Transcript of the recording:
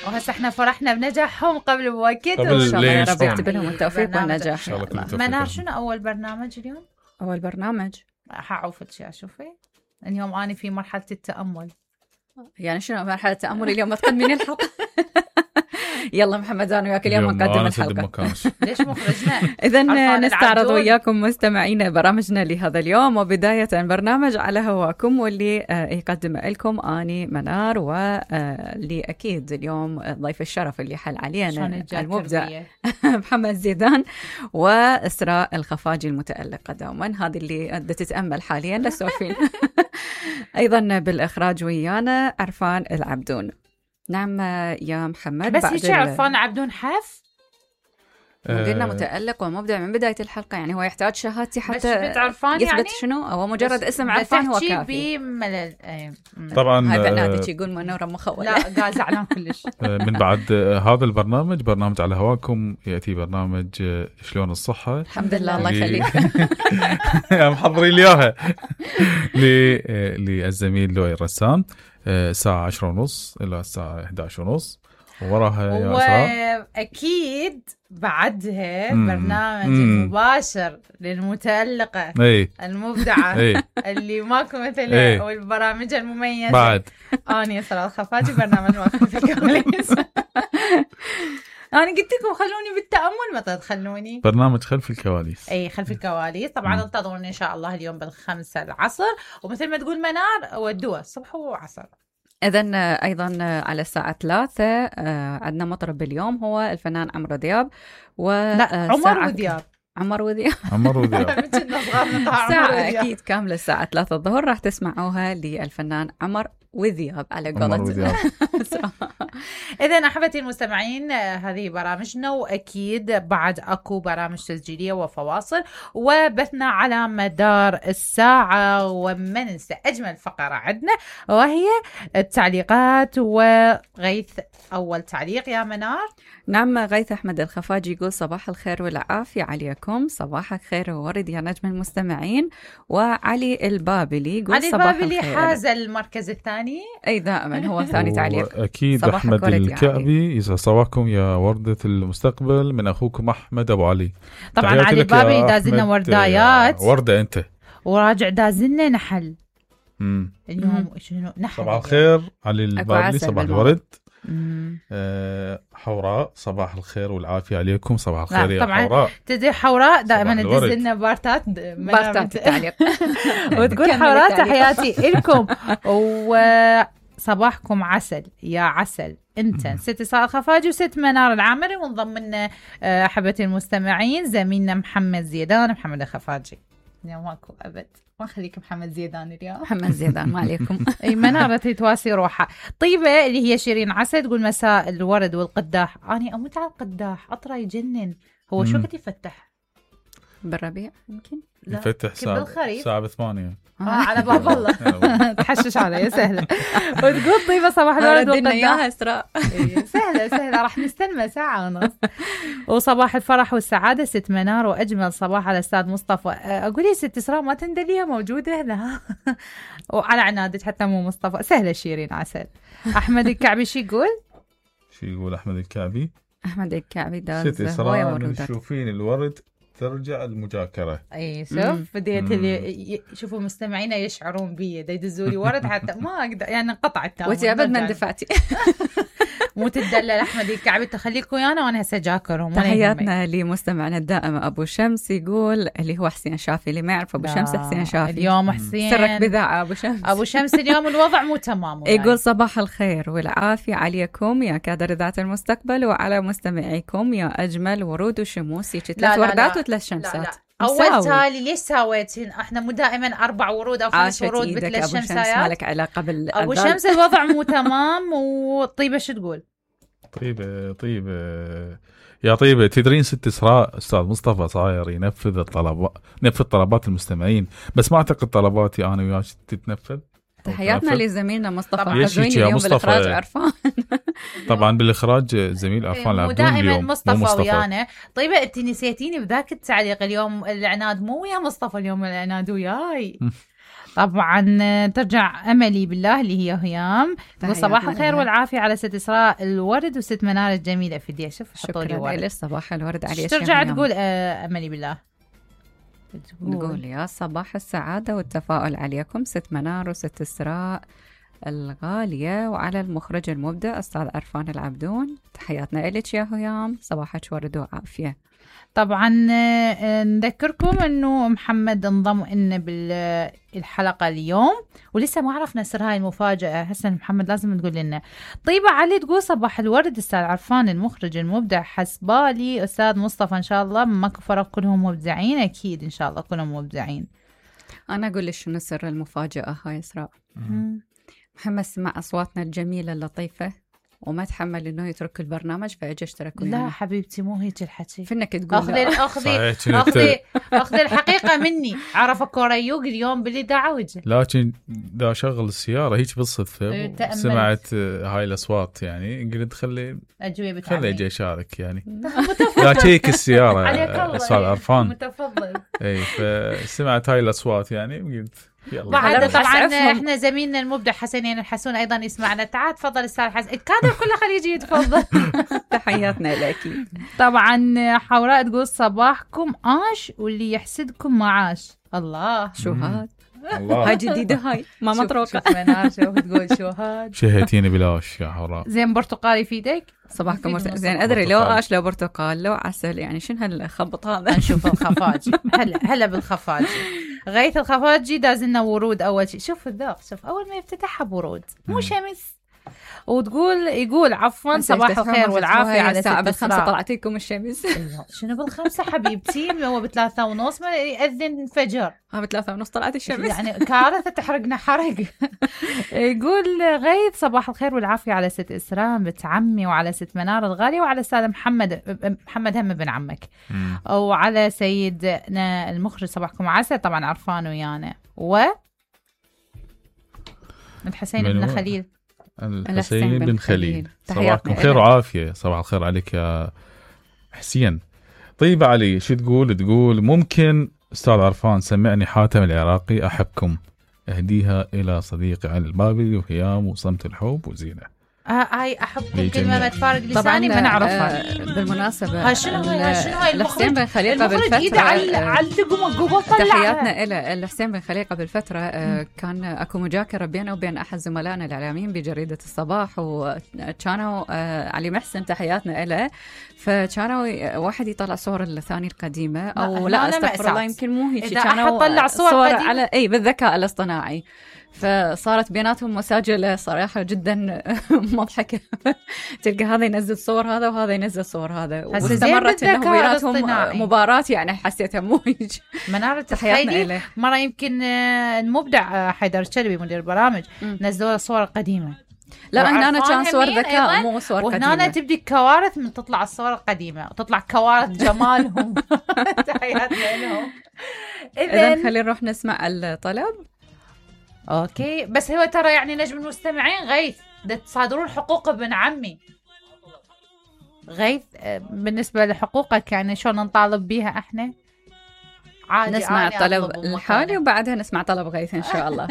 وهسه احنا فرحنا بنجاحهم قبل بوقت، وان شاء الله يا رب يكتب لهم التوفيق والنجاح. منار شنو اول برنامج اليوم؟ اول برنامج حعوفك شي اشوفي اليوم اني في مرحله التامل. يعني شنو مرحله التامل اليوم؟ ما تقدمين الحلقه. يلا محمد انا وياك اليوم نقدم الحلقه. ليش مخرجنا؟ اذا نستعرض وياكم مستمعينا برامجنا لهذا اليوم، وبدايه برنامج على هواكم واللي يقدم لكم اني منار، واللي اكيد اليوم ضيف الشرف اللي حل علينا المبدع محمد زيدان واسراء الخفاجي المتالقه دوما، هذه اللي تتامل حاليا للسوفين. ايضا بالاخراج ويانا عرفان العبدون. نعم يا محمد، بس ايش عرفان عبدون حف؟ قلنا متألق ومبدع من بداية الحلقة، يعني هو يحتاج شهادتي حتى يثبت يعني؟ شنو هو مجرد اسم عرفان هو كافي. طبعا هاي بنادك يقول منورة مخولة. لا قازعنا كلش. من بعد هذا البرنامج، برنامج على هواكم، يأتي برنامج شلون الصحة. الحمد لله الله يخليك. محضرين لي اياها للزميل لؤي الرسام، الساعة 10:30 إلى الساعة 11:30، وراها يا أسراء وأكيد بعدها برنامج مباشر للمتألقة المبدعة اللي ماكو مثلها، والبرامج المميزة بعد. أنا أسراء الخفاجي، برنامج واقف في الكواليس. أنا قلت لكم خلوني بالتأمل، ما تخلوني. برنامج خلف الكواليس. أي خلف الكواليس. طبعا انتظروني إن شاء الله اليوم 5 العصر، ومثل ما تقول منار ودوا الصبح وعصر. إذن أيضا على الساعة 3 عندنا مطرب اليوم هو الفنان عمرو دياب. لا عمر ودياب. ساعة أكيد كاملة الساعة 3 الظهر راح تسمعوها للفنان عمر وذياب على قولة. إذن أحبتي المستمعين، هذه برامجنا، وأكيد بعد أكو برامج تسجيلية وفواصل وبثنا على مدار الساعة. وما ننسى أجمل فقرة عندنا وهي التعليقات. وغيث أول تعليق يا منار. نعم، غيث أحمد الخفاجي يقول صباح الخير والعافية عليكم. صباحك خير وورد يا نجم المستمعين. وعلي البابلي يقول صباح الخير. علي البابلي حاز المركز الثاني. أي دائما هو ثاني تعليق. أكيد أحمد الكعبي يسعد صباحكم يا وردة المستقبل، من أخوكم أحمد أبو علي. طبعا علي البابلي دازلنا وردايات. وردة أنت وراجع دازلنا نحل. اليوم شنو نحل؟ صباح الخير علي البابلي، صباح الورد. حوراء صباح الخير والعافية عليكم. صباح الخير يا حوراء. تدري حوراء دائما تدزلنا بارتات تعليق. وتقول حوراء تحياتي لكم وصباحكم عسل يا عسل. انت ست إسراء الخفاجي وست منار العامري، ونضم لنا أحبتي المستمعين زميلنا محمد زيدان. محمد الخفاجي اليوم ماكو أبد، ما خليك محمد زيدان اليوم. محمد زيدان ما عليكم. اي منارة تواسي روحها. طيبة اللي هي شيرين عسل تقول مساء الورد والقداح. أنا أموت على القداح، أطرى يجنن. هو شو قد يفتح بالربيع؟ يمكن يفتح ساعة 8 على باب الله. تحشش علي سهلة. وتقول طيبة صباح الورد والقداح. إياها إسراء. سهلة راح نستنى ساعة ونص. وصباح الفرح والسعادة ست منار، وأجمل صباح على الأستاذ مصطفى. أقول يا ست إسراء ما تندليها موجودة هنا. وعلى عنادك حتى مو مصطفى. سهلة شيرين عسل. أحمد الكعبي شو يقول أحمد الكعبي؟ أحمد الكعبي داز ست إسراء تشوفين الورد ترجع المجاكرة. اي شوف بديت اللي شوفوا مستمعينا يشعرون بي يدزوا لي ورد حتى ما اقدر، يعني انقطعت وانت ابد ما اندفعتي. مو تدلل احمد الكعبي تخليكم ويانا وانا هسه جاكرهم. تحياتنا لمستمعنا الدائم ابو شمس، يقول اللي هو حسين شافي، اللي ما يعرف ابو شمس حسين شافي اليوم. حسين سرك بذاعه ابو شمس اليوم الوضع مو تمام. يقول صباح الخير والعافيه عليكم يا كادر ذات المستقبل، وعلى مستمعيكم يا اجمل ورود وشموس. يجي 3 وردات و3 شمسات. أول تالي ليش ساويتين؟ احنا مو دائما 4 ورود أو 5 ورود ب3 شمسايات. مالك علاقة أبو شمس الوضع مو تمام. وطيبة شو تقول؟ طيبة يا طيبة، تدرين ست إسراء أستاذ مصطفى صاير ينفذ طلبات المستمعين، بس ما أعتقد طلباتي أنا وياك تتنفذ. تحياتنا لزميلنا مصطفى حزويني اليوم بالإخراج عرفان. طبعا بالإخراج زميل عرفان العبدون اليوم مصطفى ويانا. طيبة انت نسيتيني بذاك التعليق اليوم العناد مو ويا مصطفى، اليوم العناد وياي. طبعا ترجع أملي بالله اللي هي هيام، تقول صباح الخير والعافية على ست إسراء الورد وست منار الجميلة في دي. شوف حطوا لي ورد. صباح الورد عليك. ترجع تقول أملي بالله، تقول يا صباح السعادة والتفاؤل عليكم ست منار وست إسراء الغالية، وعلى المخرج المبدع أستاذ عرفان العبدون. تحياتنا إليك يا هيام، صباحك ورد وعافية. طبعا نذكركم انه محمد انضم لنا بالحلقه اليوم ولسه ما عرفنا سر هاي المفاجاه. هسه محمد لازم تقول لنا. طيبه علي تقول صباح الورد استاذ عرفان المخرج المبدع، حسبالي استاذ مصطفى ان شاء الله ماكو فرق كلهم مبدعين. اكيد ان شاء الله كلهم مبدعين. انا اقول لك شنو سر المفاجاه هاي اسراء. محمد سمع اصواتنا الجميله اللطيفه وما تحمل انه يترك البرنامج فاجى اشترك ويانا. لا حبيبتي مو هيك الحكي. فينك تقول اخذي الحقيقه مني. عرف كوريوق اليوم باللي دعوجه، لكن دا شغل السياره هيك بالصدفه سمعت هاي الاصوات، يعني قلت خلي اجي اشارك يعني. لا شيك السياره استاذ عرفان متفضل. اي فسمعت هاي الاصوات يعني قلت بعد طبعا احنا زميلنا المبدع حسين الحسون ايضا يسمعنا. تعال تفضل استاذ حسين، الكادر كله خليه يجي يتفضل. تحياتنا لك. طبعا حوراء تقول صباحكم عاش واللي يحسدكم معاش. الله شو هاد، هاي جديده هاي ما مطروقه. شوف منار شوف تقول شو هاد. شهيتيني بلاش يا حوراء. زين برتقالي في ايدك صباحكم زين. ادري لو اش لو برتقال لو عسل، يعني شنو هالخبط هذا. نشوف الخفاجي. هلا بالخفاجي. غيث الخفاجي دازلنا ورود اول شيء. شوف الذوق، شوف اول ما يفتتحها بورود مو شمس. يقول عفوا صباح الخير والعافيه على الساعه بالخمسة طلعت لكم الشمس. شنو بالخمسة حبيبتي؟ هو ب3:30 ما يأذن الفجر. ب3:30 طلعت الشمس، يعني كارثه تحرقنا حرق. يقول غيث صباح الخير والعافيه على ست إسراء بنت عمي وعلى ست منار الغاليه وعلى استاذ محمد هم بن عمك وعلى سيدنا المخرج صباحكم عسل. طبعا عرفان ويانا الحسين بن خليل. الحسين بن خليل صباحكم خير وعافية. صباح الخير عليك يا حسين. طيب علي شو تقول ممكن أستاذ عرفان سمعني حاتم العراقي أحبكم أهديها إلى صديقي علي البابلي وهيام وصمت الحب وزينة. هاي أحبكم كلمة ما تفارق لساني ما نعرفها. بالمناسبة شنو هاي الحسين بن خليقة بالفترة تحياتنا إلى الحسين بن خليقة بالفترة كان أكو مجاكرة بينه وبين أحد زملائنا الإعلاميين بجريدة الصباح، وكانوا علي محسن تحياتنا إلى، فكانوا واحد يطلع صور الثاني القديمة أو لا استغفر الله يمكن مو هيك، كانوا طلع صور على بالذكاء الاصطناعي، فصارت بيناتهم مساجلة صراحة جدا مضحكة. تلقى هذا ينزل صور هذا وهذا ينزل صور هذا، واستمرت انه بيناتهم مباراة، يعني حسيتها مو هيك. منارة تخيلي مرة يمكن المبدع حيدر الشلبي مدير البرامج نزلوا صور قديمة. لا هنا كان صور ذكاء مو صور قديمة، وهنا تبدي الكوارث من تطلع الصور القديمة وتطلع كوارث جمالهم. تحياتنا لهم. إذن خلينا نروح نسمع الطلب. اوكي بس هو ترى يعني نجم المستمعين غيث تصادرون حقوق ابن عمي غيث. بالنسبة لحقوقك يعني شلون نطالب بيها احنا؟ عادي نسمع الطلب الحالي وبعدها نسمع طلب غيث ان شاء الله.